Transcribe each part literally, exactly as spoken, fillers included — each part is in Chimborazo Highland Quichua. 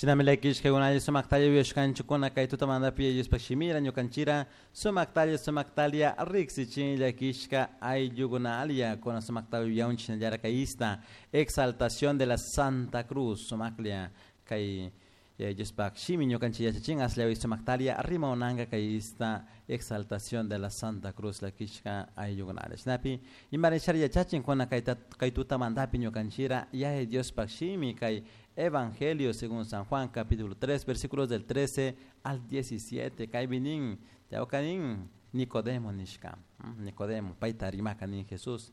Shinami llakishkakunalla sumaktalla uyashkanchikuna kay tutamantapi Diospaj shimira ñukanchira sumaktalla sumaktalia riksichin llakishka ayllukunalla kuna sumaktalla uyaunchik shinallara kay ista exaltación de la Santa Cruz sumaklia kay Diospaj shimi ñukanchik yachachin asllawi sumaktalia rimawnanka kay ista exaltación de la Santa Cruz llakishka ayllukunalla shinapi imarishari yachachin kuna kay kay tutamantapi ñukanchira yaya Diospaj shimi kay Evangelio según San Juan, capítulo tres, versículos del trece al diecisiete. Kaypi tawkanin Nicodemo nishka. Nicodemo, payta rimaka nin Jesús.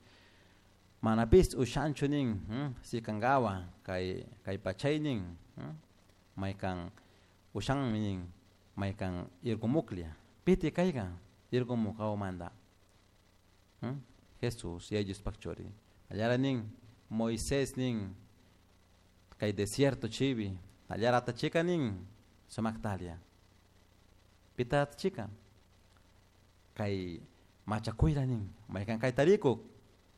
Manapis ushanchu nin, sikangawa, kay kay pachay nin, maykan ushanmi nin, maykan irgumuklia. Piti kayga, irgumukawmanta. Jesús, Yaya Diospaj churi. Allara nin, Moisés nin, kay desierto chibi, allara tachika nin, sumaktalia. Pita tachika, kay machakuyra nin, maykan kay tarikuk,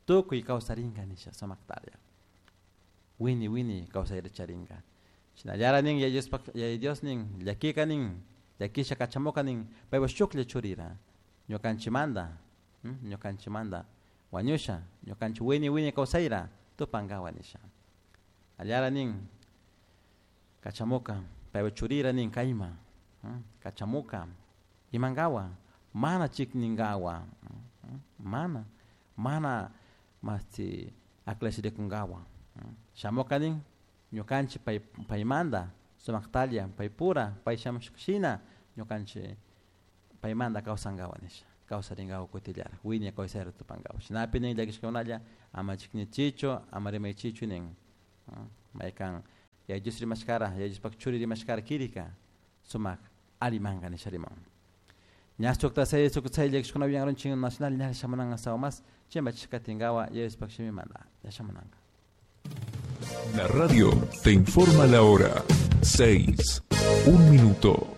tukuy kawsarinka nisha sumaktalia. Wini wini kawsayra charinka. Shinallara nin, Yaya Diospaj, Yaya Dios nin, llakika nin, llakisha kachamuka nin, paypa shuklla churira, ñukanchimanta, ñukanchimanta, wañusha, ñukanchik wini wini kawsayra, tupankawa nisha. Allara nin, kachamuka, paypa churira nin kayma, kachamuka, imankawa, mana chikninkawa, mana, mana masti aklashirikunkawa. Shamuka nin, ñukanchik pay paymanta, sumaktalla, paypura, pay shamushkashina, ñukanchik paymanta kawsankawa nisha, kawsarinkawa kutillara, wiña kawsayra tupankawa. Shinapi nin llakishkakunalla, ama chiknichichu, ama rimaychichu nin. Maykan Yaya Dios rimashkara, Yaya Diospaj churi rimashkara kirika, sumak alimanka nisha riman. Ña sukta say sukta say llakishkuna uyankarunchin nacional ña shamunanka sawa más, chimbachishkatinkawa Yaya Diospaj shimimanta, ña shamunanka. La radio te informa la hora. Seis, un minuto.